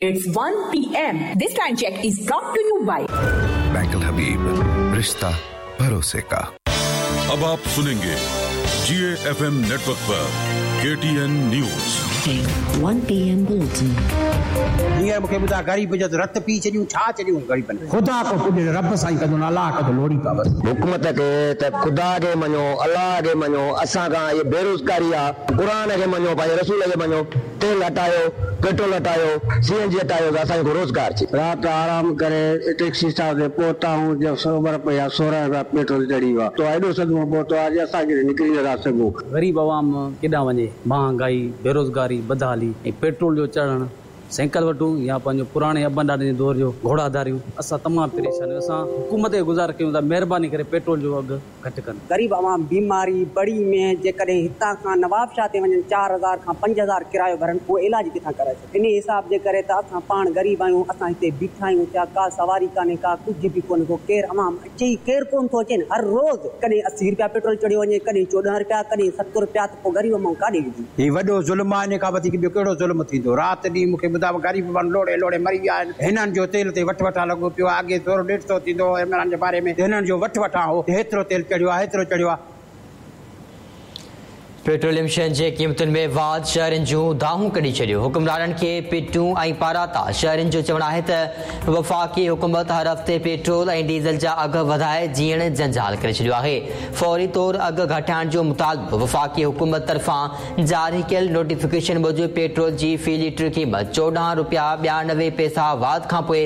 It's 1 PM. This time check is brought to you by Bank Habib, रिश्ता भरोसे का। अब आप सुनेंगे जिए एफएम नेटवर्क पर केटीएन न्यूज। 1 PM Bulletin. हींअर मूंखे ॿुधाए, ग़रीब जो रत पी छॾियूं, छा छॾियूं ग़रीबनि? ख़ुदा को पुॼे, रब साईं कंदो, अलाह कंदो, लोड़ी पा बसि। हुकूमत खे त ख़ुदा खे मञो, अलाह खे मञो, असां खां इहा बेरोज़गारी आहे। क़ुर खे मञो, पंहिंजे रसूल खे मञो, तेल हटायो, पेट्रोल हटायो, सीएनजी हटायो त असांजो रोज़गार थिए। राति आराम करे टैक्सी स्टॉप ते पहुता आहियूं, जो 100 रुपया, 16 रुपया पेट्रोल चढ़ी वियो आहे, त एॾो सदमो पहुतो आहे जो असां निकिरी नथा सघूं। ग़रीब आवाम केॾां वञे? महांगाई, बेरोज़गारी, बदहाली ऐं पेट्रोल जो चढ़णु, साइकिल वठूं या पंहिंजो पुराणे अबनि ॾाॾनि जे दौर जो घोड़ा धारियूं। असां तमामु परेशान आहियूं। असां हुकूमत खे गुज़ारिश कयूं था, महिरबानी करे पेट्रोल जो अघु घटि कनि। ग़रीब आवाम बीमारी बड़ी में जेकॾहिं हितां खां नवाबशाह ते वञनि, 4000 खां 5000 किरायो भरनि, उहो इलाज किथां कराए सघनि? इन हिसाब जे करे त असां पाण ग़रीब आहियूं, असां हिते बीठा आहियूं, छा का सवारी कान्हे, का कुझु बि कोन्हे को, केरु आवाम अचे ई, केरु कोन थो अचे। हर रोज़ कॾहिं 80 रुपया पेट्रोल चढ़ियो वञे, कॾहिं 14 रुपया, कॾहिं 7 रुपया, त पोइ ग़रीब माण्हू काॾे वेंदी? हीउ वॾो ज़ुल्म आहे, इन खां वधीक ॿियो कहिड़ो ज़ुल्म थींदो? राति ॾींहुं मूंखे ॿुधायो, ग़रीब माण्हू लोड़े लोड़े मरी विया आहिनि। हिननि जो तेल ते वठ वठां लॻो पियो आहे। अॻे थोरो 150 थींदो हो इमरान जे बारे में, हिननि जो वठ वठां हो, हेतिरो तेल चढ़ियो आहे, हेतिरो चढ़ियो आहे। पेट्रोलियम शयुनि जे क़ीमतुनि में वाध शहरनि जूं दाहूं कढी छॾियो। हुकुमराननि खे पिटूं ऐं पाराता। शहरनि जो चवणु आहे त वफ़ाक़ी हुकूमत हर हफ़्ते पेट्रोल ऐं डीज़ल जा अघ वधाए जीअण जंजाल करे छॾियो आहे। फौरी तौर अघ घटाइण जो मुतालबो। वफ़ाक़ी हुकूमत तरफ़ां जारी कयल नोटिफिकेशन मूजिबि पेट्रोल जी फ़ी लीटर क़ीमत 14 रुपया 92 पैसा वाध खां पोइ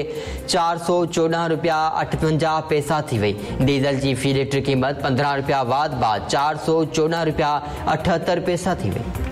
414 रुपया 58 पैसा थी वई। डीज़ल जी फ़ी लीटर क़ीमत 15 रुपया वाध बाद 414 रुपया 78 पैसा थी वई।